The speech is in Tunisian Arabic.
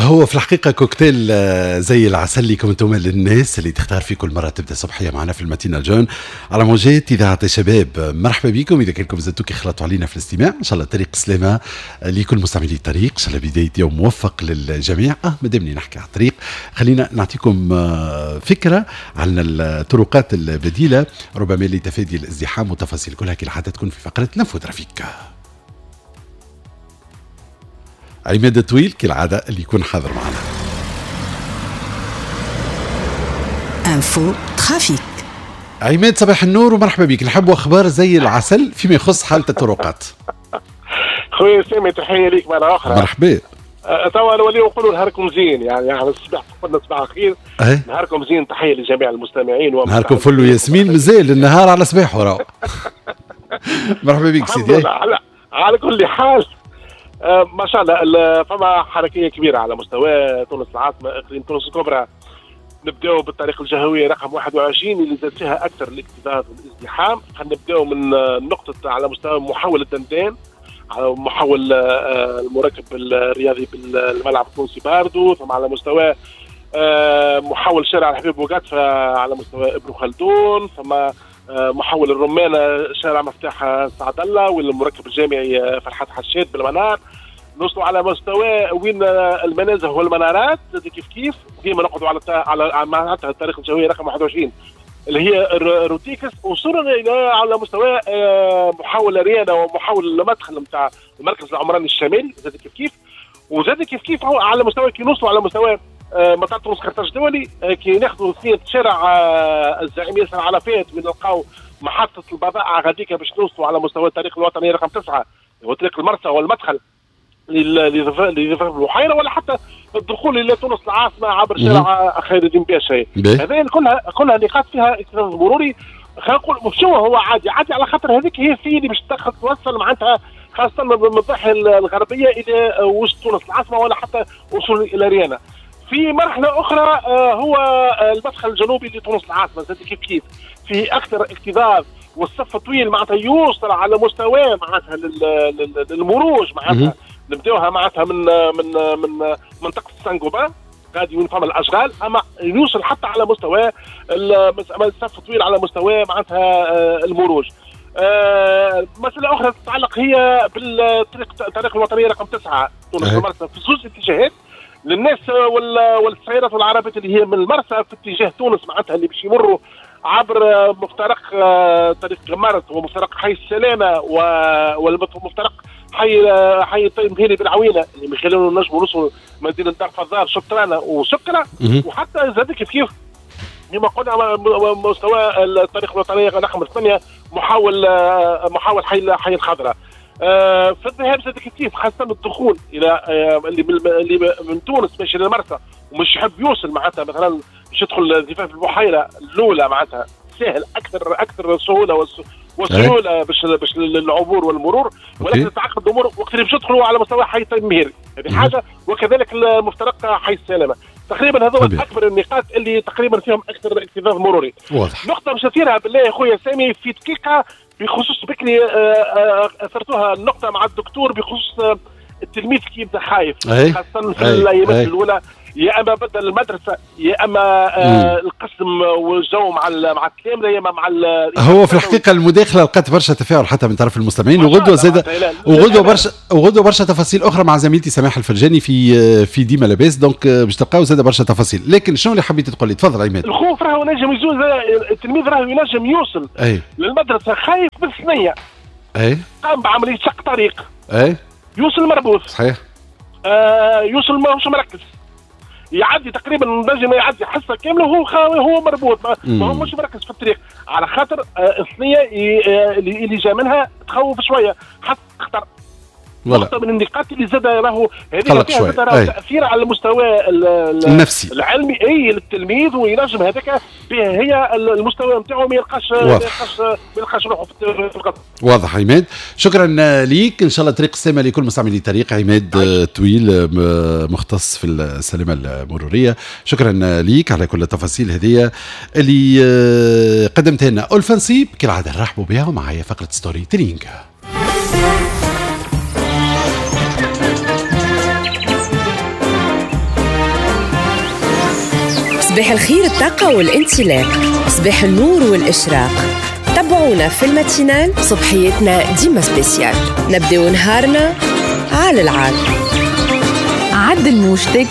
هو في الحقيقة كوكتيل زي العسل لكم انتم، للناس اللي تختار في كل مرة تبدا صبحيه معنا في ال matinale jeune على موجات اذاعة الشباب. مرحبا بكم اذا كانكم زدتوا كي خلطوا علينا في الاستماع، ان شاء الله طريق سلامه لكل مستعملي الطريق، ان شاء الله بداية يوم موفق للجميع. مادامني نحكي على الطريق خلينا نعطيكم فكرة عن الطرقات البديلة ربما لتفادي الازدحام وتفاصيل كلها كي حتى تكون في فقره l'info trafic. عماد الطويل كالعادة اللي يكون حاضر معنا. info trafic. عماد صباح النور ومرحبا بك، نحب اخبار زي العسل فيما يخص حالة الطرقات. خويا سامي تحية ليك مرة أخرى. مرحبا. توا نوليو نقولوا نهاركم زين، يعني احنا الصباح قلنا صباح الخير. نهاركم زين، تحية لجميع المستمعين. نهاركم فل وياسمين، مازال النهار على صباحه راهو. مرحبا بك سيدي. على كل حال ما شاء الله فما حركية كبيرة على مستوى تونس العاصمة، اقليم تونس الكبرى. نبداو بالطريق الجهوية رقم 21 اللي زاد فيها اكثر الاكتظاظ والازدحام. خلينا نبداو من نقطة على مستوى محول الدندان، على محول المركب الرياضي بالملعب التونسي باردو، ثم على مستوى محول شارع الحبيب بوقاتفه على مستوى ابن خلدون، ثم محول الرمانة شارع مفتاح سعد الله والمركب الجامعي فرحات حشاد بالمنار. نوصلوا على مستوى وين المنازه والمنارات كيف كيف، ديما نقعدوا على معناتها الطريق الجوية رقم 21 اللي هي روتيكس. وصلنا الى على مستوى محول ريانا ومحول المدخل نتاع المركز العمراني الشمالي زاد كيف كيف. وزاد كيف كيف على مستوى كي نوصلوا على مستوى مطار تونس قرطاج الدولي، كي ناخذوا ثنية شارع الزعيم ياسر عرفات وين نلقاو محطة البضائع غاديكا باش نوصلوا على مستوى الطريق الوطني رقم 9 وطريق المرسى والمدخل لضفاف البحيرة، ولا حتى الدخول الى تونس العاصمة عبر شارع خير الدين باشا. هذه كلها نقاط فيها اكتظاظ مروري. خلينا نقول شو هو عادي عادي على خاطر هذيك هي السيدة اللي باش توصل معناتها خاصة من الضاحية الغربية الى وسط تونس العاصمة ولا حتى وصول الى ريانا. في مرحلة أخرى هو المدخل الجنوبي لتونس العاصمة زاد كيف كيف فيه أكثر اكتظاظ والصف طويل معناتها يوصل على مستوى معناتها للمروج معناتها نبداوها معناتها من من من منطقة سانغوبان غادي وين فما الأشغال، أما يوصل حتى على مستوى الصف طويل على مستوى معناتها المروج. مسألة أخرى تتعلق هي بالطريق الطريق الوطنية رقم 9 تونس المرسى في زوج اتجاهات للناس والسيارات والعربات اللي هي من المرسى في اتجاه تونس معناتها اللي باش يمروا عبر مفترق طريق غمارت ومفترق حي السلامة والمفترق حي الطيب مهيري بالعوينه اللي من خلاله نجموا نوصلوا مدينة دار فضار شطرانه وسكره. وحتى زاد كيف كيف كما قلنا مستوى الطريق الوطنية رقم 8 محاول حي الخضراء. في الذهاب زاد كيف كيف خاصة الدخول الى اللي من تونس ماشي للمرسى ومش يحب يوصل معناتها مثلا باش يدخل زفاف البحيرة الاولى معناتها سهل اكثر سهولة وسهولة باش للعبور والمرور، ولكن تعقد الامور وقت اللي باش يدخلوا على مستوى حي طيب مهيري هذه حاجة، وكذلك المفترق حي السلامة. تقريبا هذول اكبر النقاط اللي تقريبا فيهم اكثر اكتظاظ مروري. واضح. نقطة مش اثيرها بالله يا خويا سامي في دقيقة بخصوص بكري اثرتوها النقطة مع الدكتور بخصوص التلميذ كي يبدا خايف خاصة في الايامات الاولى، يا اما بدل المدرسة يا اما القسم والجو مع التلامذه يا اما مع هو في الحقيقة المداخلة لقات برشا تفاعل حتى من طرف المستمعين، وغدوه زاد وغدوه برشا تفاصيل اخرى مع زميلتي سماح الفرجاني في ديما لاباس، donc باش تلقاو زاد برشا تفاصيل. لكن شنو اللي حبيت تقول لي؟ تفضل عماد. الخوف راهو نجم يزول، التلميذ راهو ينجم يوصل للمدرسة خايف بالثنيه، قام بعملية شق طريق، يوصل مربوط، صحيح، يوصل ماهوش مركز، يعدي تقريبا نجم يعدي حصة كاملة وهو مربوط، ما هو مش مركز في الطريق على خاطر الثنية اللي جا منها تخوف شوية حتى خطر. نقطة من النقاط اللي زاد راهو هذه فيها زاد راهو تأثير على المستوى النفسي العلمي للتلميذ، وينجم هذاك هي المستوى نتاعو ما يلقاش روحه في القطر. واضح عماد، شكرا ليك، ان شاء الله طريق السلامة لكل مستعملي طريق. عماد طويل مختص في السلامة المرورية، شكرا ليك على كل التفاصيل هذه اللي قدمتها لنا. ألفا نصيب كالعادة نرحبوا بها ومعايا فقرة storytelling. صباح الخير، الطاقة والانطلاق، صباح النور والإشراق. تبعونا في ال matinale، صبحيتنا ديما spéciale، نبداو نهارنا على العال. عدل موجتك.